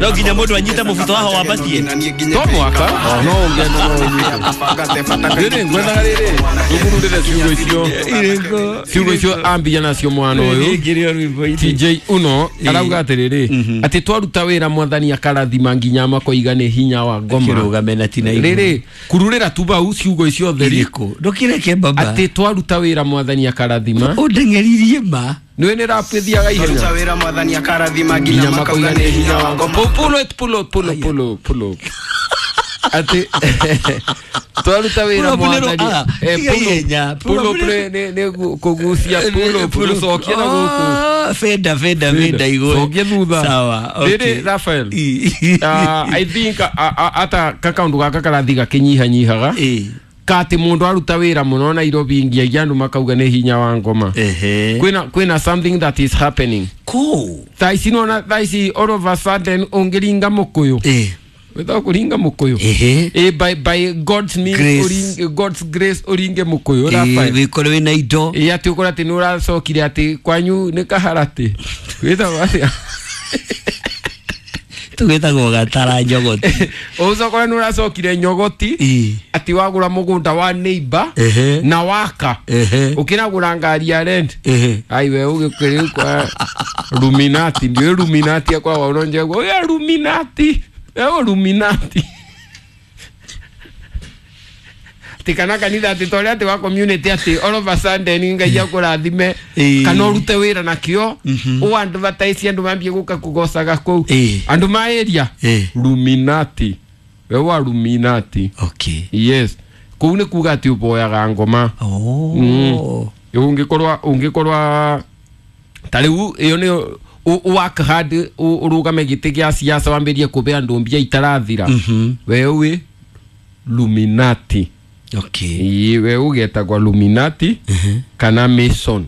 No nginya mundu anyite mubuto waho wambatie. To mwaka no ungena no unyite. Riri ngwethaga riri ngururire ciugo icio. Ciugo icio ambia nacio mwana uyu. TJ Uno arauga atiriri ati twaruta wira mwathani akarathima nginya makoiga ni hinya wa ngoma. Kirugame na tina iguru. Riri kururira tu bau ciugo icio theri. Ndukireke baba. Ati twaruta wira mwathani akarathima. Undeng'eririe ma. Niwe ni rap ithiaga ihenya. Twaruta wira mwathani akarathima nginya makauga ni hinya wa ngoma. Pull it pull up pull up pull up pull up. Ati twaruta wira mwathani pull up ni kugucia pull up gucokia na guku. Feda feda feda igwe. Cokia thutha. Sawa. Okay. Riri Raphael. I think ata kakaundu gaka karathi gakinyiha nyihaga. Kati mundu aruta wira muno Nairobi ngiagia andu makauga ni hinya wa ngoma. Kwina something that is happening. Cool. Thaa ici nona thaa ici all of a sudden ungiringa mukuyu. Without kuringa mukuyu. By God's means God's grace uringe mukuyu. Raphael. Wikore wina indo. Ati ukora ati ni uracokire ati kwanyu ni kaharati. Witagwo atia? Tugitagwo gatara njogoti. Ucokore ni uracokire nyogoti. Ati wagura mugunda wa neighbor na waka. Ukinagura ngari ya rent. Ai we ugikiri kwa Luminati ndio Luminati kwa waonje kwa ya Luminati. Eo Luminati. Tikana kanitha ati toria ati wa community ati all of a sudden ngai akurathime kana urute wira nakio u advertise andu mambie guka kugocaga kuu andu ma area Luminati we wa Luminati. Okay. Yes. Kuu ni kuga ati uboyaga ngoma. Oh. Ungikorwa tariu iyo ni work hard urugame giti gia siasa wambirie kube andu mbia itarathira. We wi Luminati. Okay. We ugetagwa Luminati kana Mason.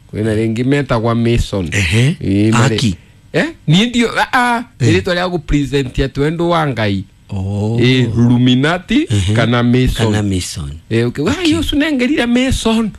Kwina ringi metagwa Mason. Aki. Ni ndio ritwa ria gupresent atu andu wa Ngai. Oh. Luminati kana Mason. Kana Mason. Okay. Wa yo sunengerire Mason.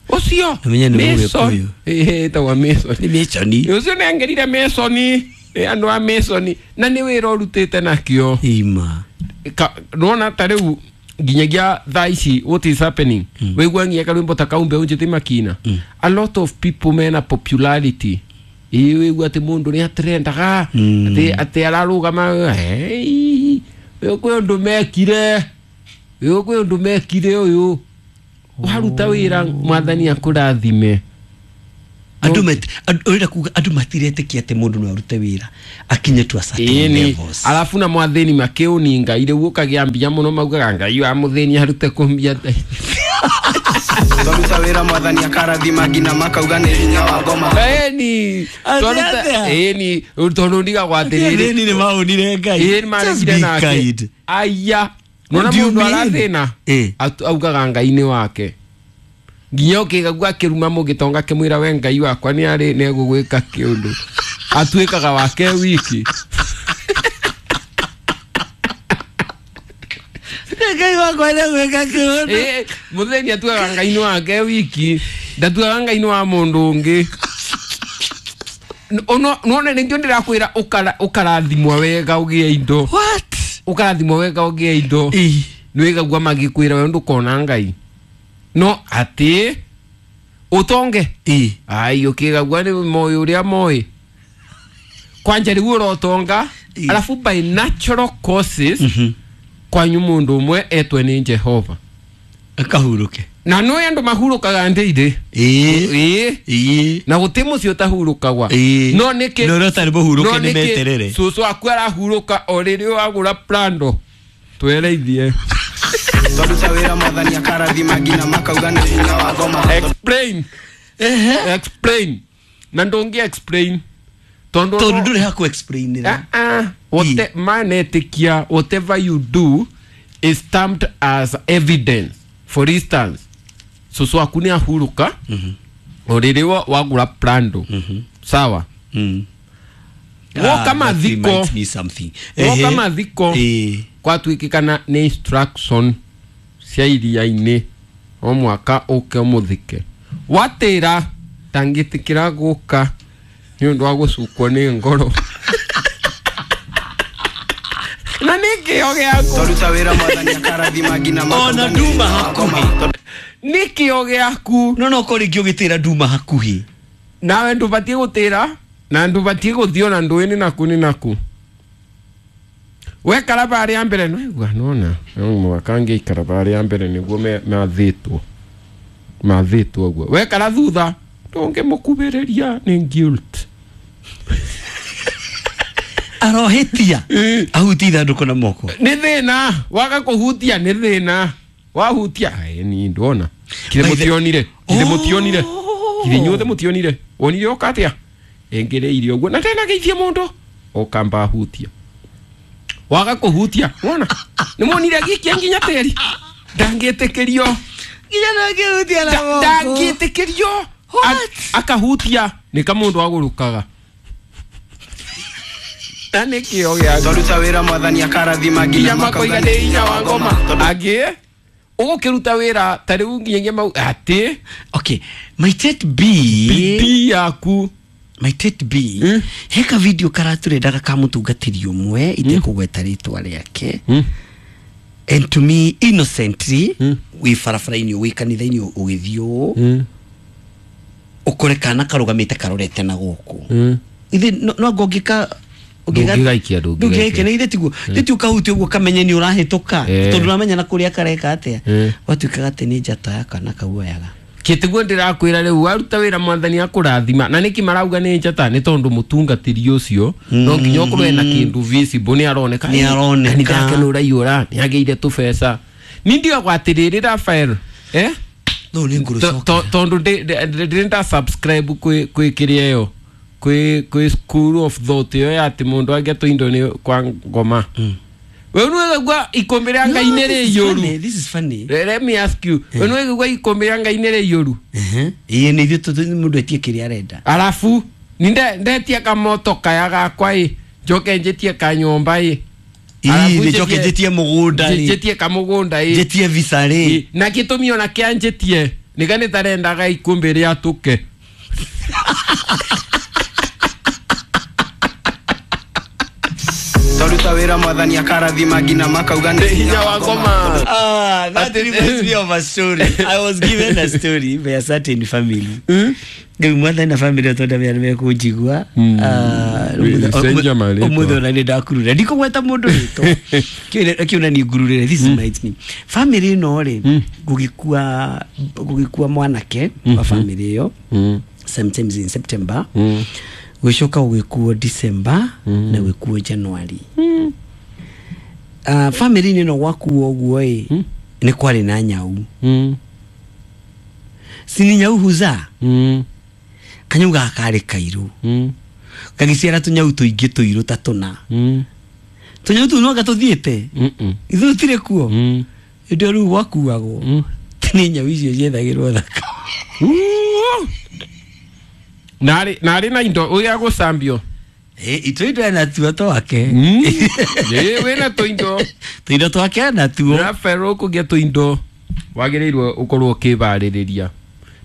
Ucio Mason. Etagwa Mason. Ni Mason. Ucio nengerire Mason. Andu a Mason na ni wira urutite nakio. Ima. Nona ta riu nginyagia thaa ici what is happening. Wigua nginya karwimbo ta kaumbe unjite makina. A lot of people mena popularity. Wigua ati mundu ni atrendaga ati ati ararugama kwi undu mekire. Kwi undu mekire uyu. Waruta wira mwathani akurathime. Andu urenda kuga andu matiretĩkia atĩ mũndũ no arute wĩra akinye to a certain levels. Alafu na mwathĩni makĩũninga irĩ ũkagia mbia mũno maugaga Ngai wa mũthĩni arute kũmbia. Twaruta wĩra mwathani akarathima nginya makauga nĩ hinya wa ngoma. Eni twaruta eni tondu ndigagwo atĩrĩrĩ athĩni nĩ maonire Ngai. Maregire nake. Aya nona mũndũ arathĩna augaga Ngai nĩ wake. Nginya ukigagua kiruma mugitonga kimwira we Ngai wakwa ni ari ni egugwika kiundu atuikaga wake wiki. Ngai wakwa ni egwika kiundu. Mutheni atuaga Ngai ni wake wiki ndatuaga Ngai ni wa mundu ungi. None ningio ndirakwira ukarathimwa wega ugie indo. What? Ukarathimwa wega ugie indo. Niwigagua magikwira we ndukona Ngai. No ati utonge. Ai ukigagua ni moyo uria moi. Kwanja riu urotonga alafu by natural causes kwanyu mundu umwe etwe ni Jehova akahuruke. Na no andu mahurukaga ndire. Na guti mucio tahurukagwa. No niki no rotari buhuruke ni meterere. Cucu aku arahuruka o riri wagura plando. Twereithie. Twaruta wira mwathani akarathima nginya makauga nĩ hinya wa ngoma. Explain. Explain. Na ndungi explain. Tondu nduri haku explain. What manetikia whatever you do is stamped as evidence. For instance, cucu aku ni ahuruka o riri wagura plando. Sawa. Woka mathiko. Woka mathiko. Kwatuikikana ni instruction cia iria-inĩ o mwaka ũke ũmũthike. Watĩra ndangĩtĩkĩra gũka nĩ ũndũ wa gũcukwo nĩ ngoro. Na nĩ kĩo gĩaku. Twaruta wĩra mwathani akarathima nginya Ona nduma hakuhĩ. Nĩ kĩo gĩaku. No ko rĩngĩ ũgĩtĩra nduma hakuhĩ. Nawe ndũbatiĩ gũtĩra na ndũbatiĩ gũthiĩ ona ndũĩ-inĩ naku nĩ naku. Wekara barĩa mbere nĩwaigua nona no mũhaka ngĩikara barĩa mbere nĩguo mathĩtwo. Mathĩtwo ũguo. Wekara thutha ndũngĩmũkuhĩrĩria nĩ guilt. Arohĩtia. Ahutie ithandũkũ na moko. Nĩ thĩna waga kũhutia nĩ thĩna wahutia ni ndona kire mũtionire kire mũtionire kire inyuothe mũtionire wonire oka atĩa ĩngĩrĩirie ũguo na tena geithie mũndũ ũkamba ahutia waga kũhutia wona nĩ muonire gĩkia nginya tĩri ndangĩtĩkĩrio nginya ndangĩhutia na moko ndangĩtĩkĩrio akahutia nĩ kamũndũ agũrũkaga na nĩ kĩo gĩaku. Twaruta wĩra mwathani akarathima nginya makoiga nĩ hinya wa ngoma angĩ ũgũkĩruta wĩra ta rĩu nginyagia mau atĩ okay might it be bidii yaku might it be heka video karaturendaga ka mũtungatĩri ũmwe itekũgweta rĩtwa rĩake and to me innocently wĩ barabara-inĩ wĩ kanitha-inĩ ũgĩthiĩ ũũ ũkore kana karũgamĩte karorete na gũkũ ithe no anga ũngĩka ndũngĩgaikia ndũngĩgaikia nĩ ithe tiguo ithe ũkahutia ũguo kamenye nĩ ũrahĩtũka tondũ ũramenya na kũrĩa kareka atĩa gwatuĩkaga atĩ nĩ njata ya kana kau oyaga kĩtiguo ndĩrakwĩra rĩu waruta wĩra mwathani akũrathima na nĩkĩ marauga nĩ njata nĩ tondũ mũtungatĩri ũcio no nginya ũkorwo ena kĩndũ visible nĩ aroneka nĩ aroneka kanitha yake nĩ ũraiyũra nĩ agĩire tũbeca ni ndigagwo atĩrĩrĩ Raphael no nĩ ngũrũcoka tondũ ndĩrĩ nda subscribe kwĩ kĩrĩa ĩyo kwĩ school of thought ĩyo ya atĩ mũndũ angĩatũ indo nĩ kwa ngoma we nĩwegua ikũmbĩ rĩa Ngai nĩ rĩiyũru. This is funny. Let me ask you we nĩwegua ikũmbĩ rĩa Ngai nĩ rĩiyũru. Ĩĩ nĩ ithuĩ mũndũ etie kĩrĩa arenda arabu ndetie kamoto kaya gakwa ĩ njoke njĩtie kanyũmba ĩ ĩĩ njoke njĩtie mũgũnda rĩ njĩtie kamũgũnda ĩ njĩtie visa rĩ na gĩtũmi ona kĩa njĩtie nĩga nĩtarendaga ikũmbĩ rĩatũke. Twaruta wĩra mwathani akarathima nginya makauga nĩ hinya wa ngoma. That reminds me of a story. I was given a story by a certain family. Rĩu mwathani na family tondũ andũ nĩ mekũnjigua. Ũmũthĩ ona nĩ ndakurura ndikũgweta mũndũ rĩtwa kĩu na nĩ ngururĩre. This reminds me family ĩno rĩ gũgĩkua mwanake wa family ĩyo sometimes in September gwicoka gwikuo December na gwikuo January. Family ni no gwakuo uguo ĩ nĩ kwarĩ na nyau. Sini nyau huza kanyau gaka karĩ kairũ gagĩciara tũnyau tũingĩ tũirũ ta tũna. Tũnyau tũu no gatũthiĩte ithuĩ tũtirĩ kuo hĩndĩ ĩyo rĩu gwakuagwo nĩ nyau icio ciethagĩrwo thaka. Nari na indo uya gũcambio ito indo ena tuo twake wĩna tũindo tũindo twake ena tuo Raphael ũkũgĩa tũindo wagĩrĩirwo ũkorwo ũkĩbarĩrĩria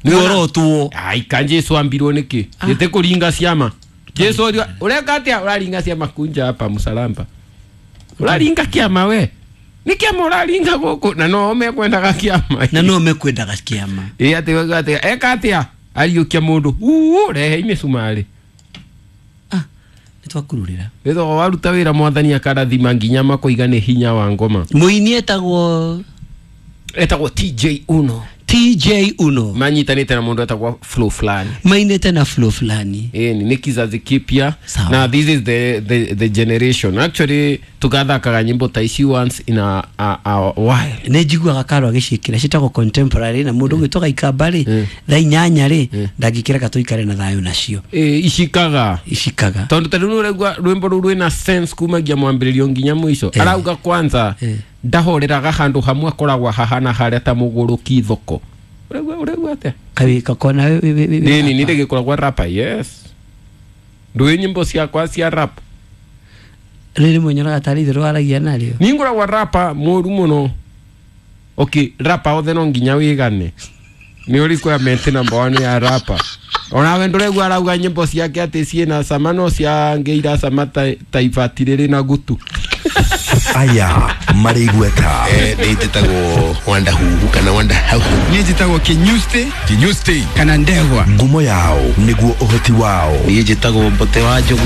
nĩorotwo ai ka Jesu ambirwo nĩkĩ gĩte kũringa ciama Jesu ũreka atĩa ũraringa ciama kunja hapa msalamba ũraringa kĩama we nĩ kĩama ũraringa gũkũ na no mekwendaga kĩama na no mekwendaga kĩama ĩ atĩ eka atĩa ariũkia mũndũ rehe mĩcumarĩ nĩtwakururĩra wĩthogo waruta wĩra mwathani akarathima nginya makoiga nĩ hinya wa ngoma mũini etagwo TJ Uno TJ Uno manyitanĩte na mũndũ etagwo Flow Flani mainĩte na Flow Flani ĩni nĩ kizazi kipya na this is the generation actually tugathakaga nyimbo ta ici once in a while nĩ njiguaga Karo agĩciĩkĩra ciĩtagwo contemporary na mũndũ ũgĩtwo Gaikamba rĩ thaa inyanya rĩ ndangĩkĩreka tũikare na thayũ nacio icikaga tondũ ta rĩu nĩũraigua rwĩmbo rũu rwĩna sense kumagia mwambĩrĩrio nginya mũico arauga kwanza ndahoreraga handũ hamwe akoragwo hahana harĩa ta mũgũrũki thoko ũraigua atĩa kaĩ kakona nini nĩ ndĩgĩkoragwo rapa yes ndũĩ nyĩmbo ciakwa cia rap rĩrĩ mwenyoraga tarĩ itherũ waragia narĩo niĩ ngoragwo rapa mũru mũno okay rapa othe no nginya wĩgane nĩ requirement number 1 ya rapa onawe ndũraigua arauga nyĩmbo ciake atĩ ciĩna cama no ciangĩira cama ta ibati rĩrĩ na gutu. Aya marĩ igweta. Nĩ njĩtagwo Wanda Huhu kana Wanda Hauhu. Niĩ njĩtagwo Kinyusti Kinyusti. kana Ndegwa. Ngumo yao nĩguo ũhoti wao. Niĩ njĩtagwo Mbote wa Njogu.